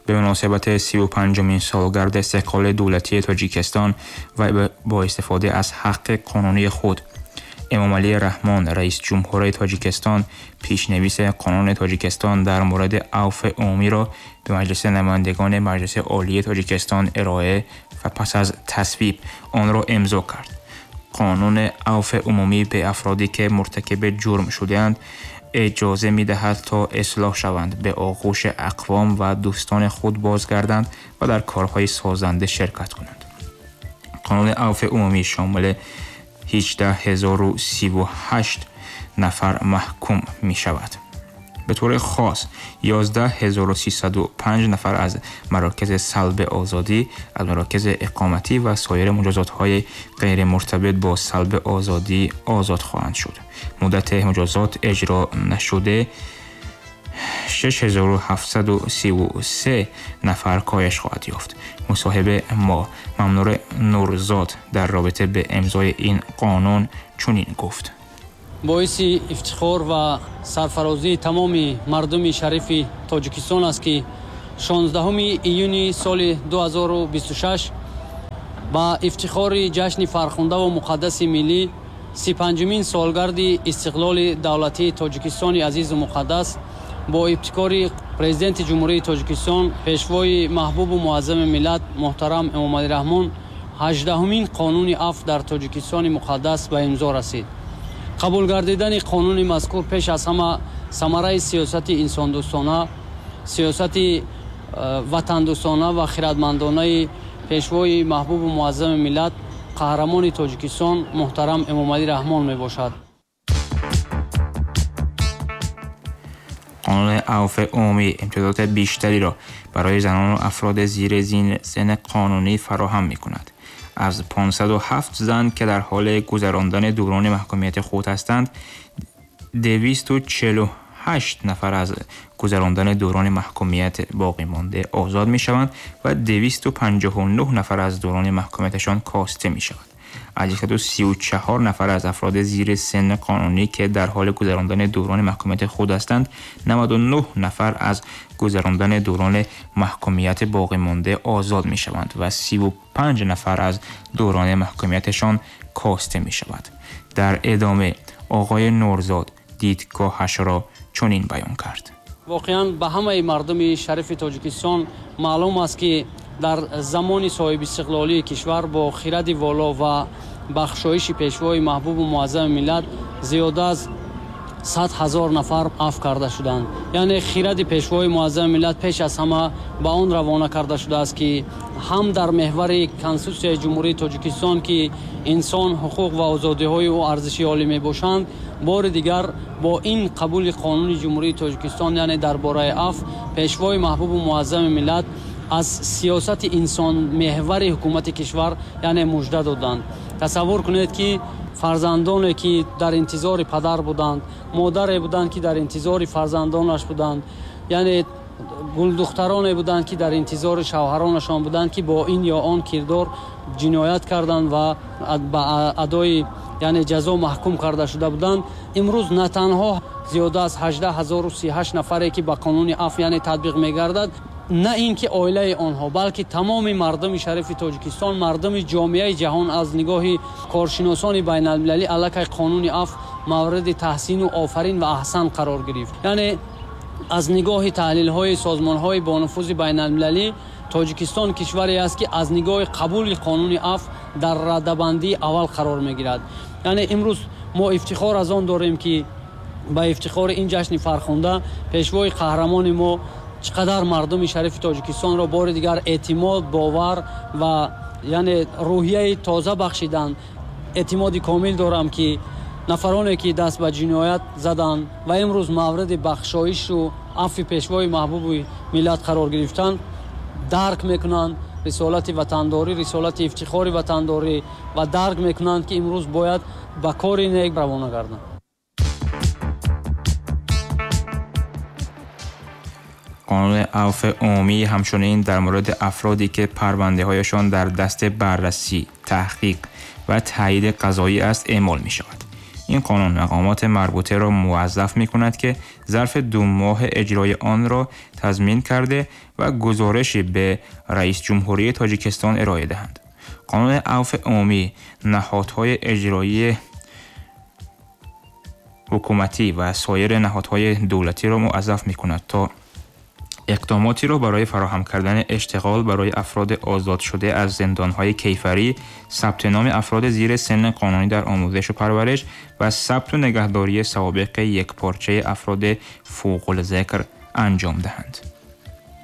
به مناسبت 35مین سالگرد استقلال دولتی تاجیکستان و با استفاده از حق قانونی خود، امامعلی رحمان رئیس جمهور تاجیکستان پیشنویس قانون تاجیکستان در مورد عفو عمومی را به مجلس نمایندگان مجلس عالی تاجیکستان ارائه و پس از تصویب آن را امضا کرد. قانون عفو عمومی به افرادی که مرتکب جرم شده‌اند اجازه می‌دهد تا اصلاح شوند، به آغوش اقوام و دوستان خود بازگردند و در کارهای سازنده شرکت کنند. قانون عفو عمومی شامل 18038 نفر محکوم می شود. به طور خاص 11305 نفر از مراکز سلب آزادی، از مراکز اقامتی و سایر مجازات‌های غیر مرتبط با سلب آزادی آزاد خواهند شد. مدت مجازات اجرا نشده 6733 نفر کاهش خواهد یافت. مصاحبه ما ممنور نورزاد در رابطه به امضای این قانون چنین گفت: боиси ифтихор ва сарфарозии тамоми мардуми шарифи Тоҷикистон аст, ки 16 июни соли 2026 ба ифтихори ҷашни фархундаву муқаддаси миллӣ, 35-умин солгарди истиқлоли давлатии Тоҷикистони азизу муқаддас, бо ибтикори президенти Ҷумҳурии Тоҷикистон, пешвои маҳбубу муаззами миллат муҳтарам Эмомалӣ Раҳмон 18-умин қонуни афв дар Тоҷикистони муқаддас ба имзо расид. Қабул гардидани қонуни мазкур пеш аз ҳама самараи сиёсати инсондӯстона, сиёсати ватандӯстона ва хирадмандонаи пешвои маҳбубу муаззами миллат, қаҳрамони Тоҷикистон муҳтарам Эмомалӣ Раҳмон мебошад. قانون عفو عمومی امتیازات بیشتری را برای زنان و افراد زیر سن قانونی فراهم می‌کند. از 507 زن که در حال گذراندن دوران محکومیت خود هستند، 248 نفر از گذراندن دوران محکومیت باقی مانده آزاد می‌شوند و 259 نفر از دوران محکومیتشان کاسته می‌شود. از 134 نفر از افراد زیر سن قانونی که در حال گذراندن دوران محکومیت خود هستند، 99 نفر از گذراندن دوران محکومیت باقی مانده آزاد می شوند و 35 نفر از دوران محکومیتشان کاسته می شود. در ادامه آقای نورزاد دیدگاهش را چنین بیان کرد: واقعا به همه مردم شریف تاجیکستان معلوم است که در زمان صاحب استقلالی کشور با خرد والا و بخشایش پیشوای محبوب و معظم ملت زیاده از 100,000 نفر عفو کرده شدند. یعنی خرد پیشوای معظم ملت پیش از همه به آن روانه کرده شده است که هم در محور کنسوسیای جمهوری تاجیکستان که انسان، حقوق و آزادی های او ارزش عالی می باشند، بار دیگر با این قبول قانون جمهوری تاجیکستان، یعنی درباره عفو، پیشوای محبوب و معظم ملت از سیاست انسان محور حکومت کشور یعنی مژده دادند. تصور کنید که فرزندانی که در انتظار پدر بودند، مادری بودند که در انتظار فرزندانش بودند، یعنی گلدخترانی بودند که در انتظار شوهرانشان بودند که با این یا آن کردار جنایت کردند و به ادای یعنی جزا محکوم کرده شده بودند. امروز نه تنها زیاده از 18038 نفری که به قانون عفو یعنی تطبیق می‌گردد، نه اینکه оилаи онҳо, балки тамоми мардуми шарифи Тоҷикистон, мардуми ҷомеаи ҷаҳон аз нигоҳи коршиносони байналмилалӣ аллакай қонуни афв мавриди таҳсину офарин ва аҳсан қарор гирифт. Яъне аз нигоҳи таҳлилҳои созмонҳои бонуфузи байналмилалӣ Тоҷикистон кишваре аст, ки аз нигоҳи қабули қонуни афв дар радабандии аввал қарор мегирад. Яъне имрӯз мо ифтихор аз он дорем, ки ба ифтихори ин ҷашни фархунда пешвои қаҳрамони мо чӣ қадар мардуми шарифи Тоҷикистонро бори дигар эътимод, бовар ва яъне рӯҳияи тоза бахшиданд. Эътимоди комил дорам, ки нафароне ки даст ба ҷиноят заданд ва имрӯз мавриди бахшоишу афви пешвои маҳбуби миллат қарор гирифтанд, дарк мекунанд рисолати ватандорӣ, рисолати ифтихори ватандорӣ ва дарк мекунанд, ки имрӯз бояд ба кори нек равона гарданд. قانون عفو عمومی همچنین در مورد افرادی که پرونده‌هایشان در دست بررسی، تحقیق و تایید قضایی است اعمال می‌شود. Ин қонун мақомоти марбутаро муваззаф мекунад, ки зарфи 2 моҳ иҷрои онро тазмин карда ва гузоришӣ ба раисҷумҳурии Тоҷикистон ироа диҳанд. Қонуни авфи умумӣ ниҳодҳои иҷроии ҳукуматӣ ва соири ниҳодҳои давлатиро муваззаф мекунад то иқдомотеро барои фароҳам кардани иштиғол барои афроди озодшуда аз зиндонҳои кайфарӣ, сабти номи афроди зери синни қонунӣ дар омӯзишу парвариш ва сабту нигаҳдории савобиқи якпорчаи афроди фавқулзикр анҷом диҳанд.